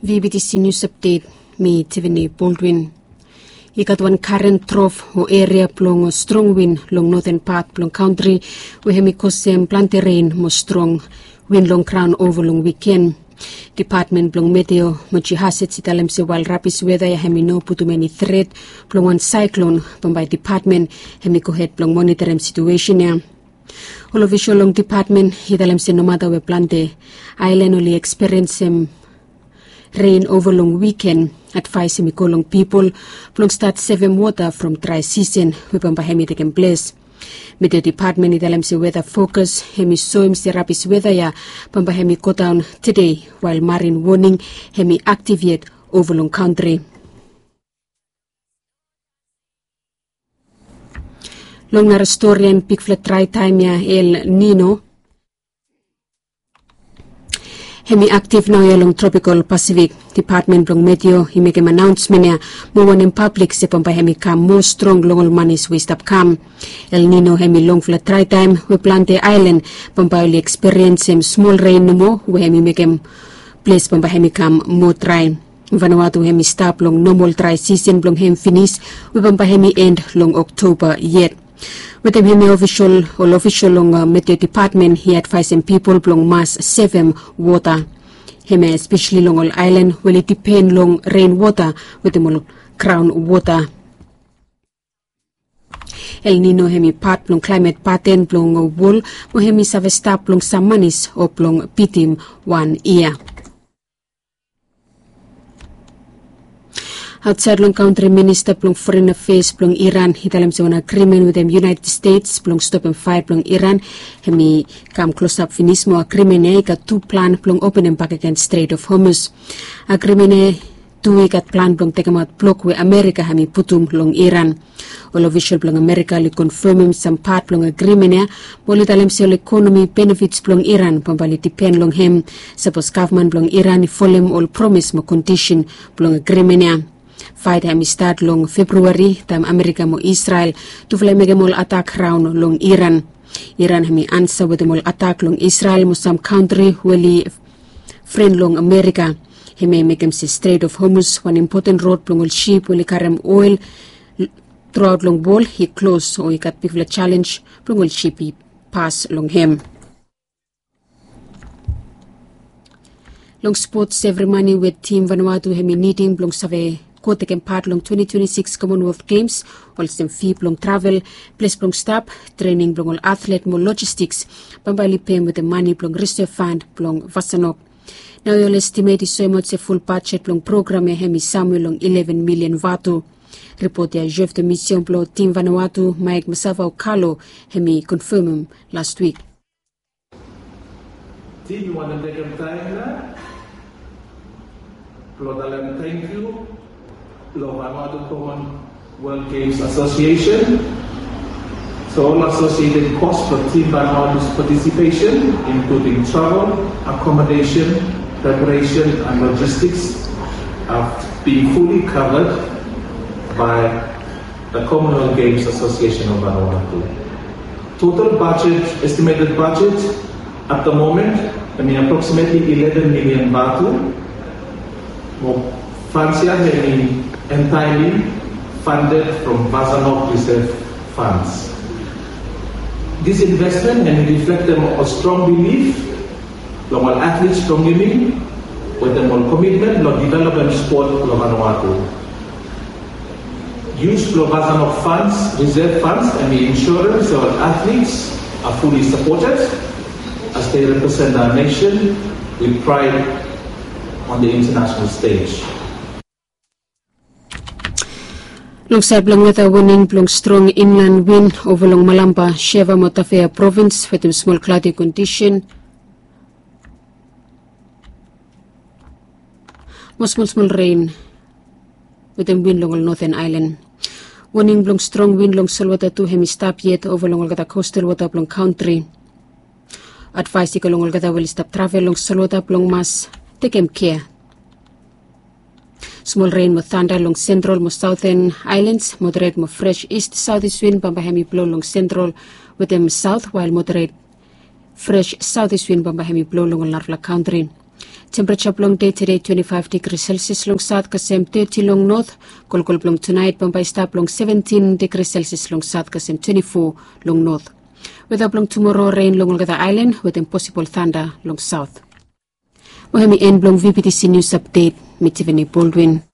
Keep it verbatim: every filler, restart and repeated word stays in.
VBTC News Update, mi Tiffany Baldwin. I gat wan karen trof o eria blong strong win long noten pat blong kantri, we hemi kosem plante ren mo strong win long graon ova long wiken. Dipatmen blong meteo mo jihasets i talem se wael rabis weta ya hemi no putum eni tret blong wan saeklon, bambae dipatmen hemi gohed blong monitorim situesen ya. Ol ofisol long dipatmen i talem se nomata we plante aelan oli eksperiensem ren ova long wiken, advaes hemi go long pipol blong stat sevem wota from drae sisen we bambae hemi tekem ples. Meteo dipatmen i talem se weta fokas hemi soem se rabis weta ya bambae hemi godaon tede, wael marin woning hemi aktiv yet ova long kantri. Long nara storian, bigfala drae taem ya, El Nino, hemi aktiv naoia long tropikal Pasifik. Dipatmen blong meteo i mekem anaonsmen ya mo wanem pablik se bambae hemi kam moa strong long ol manis we i stap kam. El Nino hemi longfala drae taem we plante aelan bambae oli eksperiensem smol ren nomo, we hemi mekem ples bambae hemi kam moa drae. Vanuatu hemi stap long nomol drae sisen blong hem finis, we bambae hemi en long Oktoba yet. Wetem hemia, ofisol, ol ofisol long meteo dipatmen i advaesem pipol blong mas sevem wota, hemia espeseli long ol aelan we oli dipen long ren wota wetem ol graon wota. El Nino hemi pat blong klaemet paten blong wol, mo hemi save stap blong sam manis o blong bitim wan yia. Aotsaed long kantri, minista blong foren afeas blong Iran i talem se wan agrimen wetem United States blong stopem faea blong Iran hemi kam klosap finis, mo agrimen ya i gat tu plan blong openem bakegen Strait of Hormuz. Agrimen ya tu i gat plan blong tekemaot blok we Amerika hemi putum long Iran. Ol ofisol blong Amerika oli konfemem sam pat blong agrimen ya, mo oli talem se ol ekonomi benefits blong Iran bambae oli dipen long hem sapos gavman blong Iran i folem ol promes mo kondisen blong agrimen ya. Faet ya hemi stat long Februari, taem Amerika mo Israel tufala i mekem ol atak raon long Iran. Iran hemi ansa wetem ol atak long Israel mo sam kantri we oli fren long Amerika. Hemia i mekem se Strait of Hormuz, wan impoten rod blong ol sip we oli karem oel truaot long wol, i klos, o i gat bigfala jalenj blong ol sip i pas long hem. Long spots, evri mane we tim Vanuatu hemi nidim blong save go tekem pat long twenti twenti sikis Commonwealth Games, olsem fi blong travel, ples blong stap, trening blong ol atlet mo lojistiks, bambae oli pem wetem mane blong risev fand blong Vasanok. Naoia ol estimet i soemaot se ful bajet blong program ya hemi samwe long ileven milian vatu. Ripot ya, Jeff de Mission blong tim Vanuatu, Mike Masava Okalo, hemi konfemem lastwik. Tim, mi wantem tekem taem ya blong talem tangkiu long Vanuatu Commonwealth Games Association. So ol associated cost blong tim Vanuatu's participation, including travel, accommodation, preparation and logistics, have been fully covered by the Commonwealth Games Association of Vanuatu. Total budget, estimated budget at the moment, I mean, approximately eleven million vatu. Mo funds ya hemi entirely funded from Vasanok reserve funds. This investment hemi reflektem ol strong bilif long ol athletes blong yumi, wetem ol komitmen blong developem spot long Vanuatu. Use blong Vasanok funds, reserve funds, hemi ensuring se ol athletes are fully supported as they represent our nation with pride on the international stage. Long saed blong weta, woning blong strong inlan win ova long Malampa, Shefa mo Tafea provins wetem smol kladi kondisen mo smol smol ren wetem win long ol noten aelan. Woning blong strong win long solwota tu hemi stap yet ova long olgeta kostal wota blong kantri. Advaes i go long olgeta we oli stap travel long solwota blong mas tekem kea. Smol ren mo tanda long sentral mo saoten aelans, moderet mo fres ist saotis win bambae hemi blo long sentral wetem saot, wael moderet fres saotis win bambae hemi blo long ol narafala kantri. Tempereja blong dei tede twenti faef digri selsias long saot kasem teti long not. Kolkol blong tunaet bambae i stap long seventin digri selsias long saot kasem twenti fo long not. Weta blong tumoro ren long olgeta aelan wetem posibol tanda long saot. Mo hem i en blong vbtc nius apdet. Mi tiveni boldwin.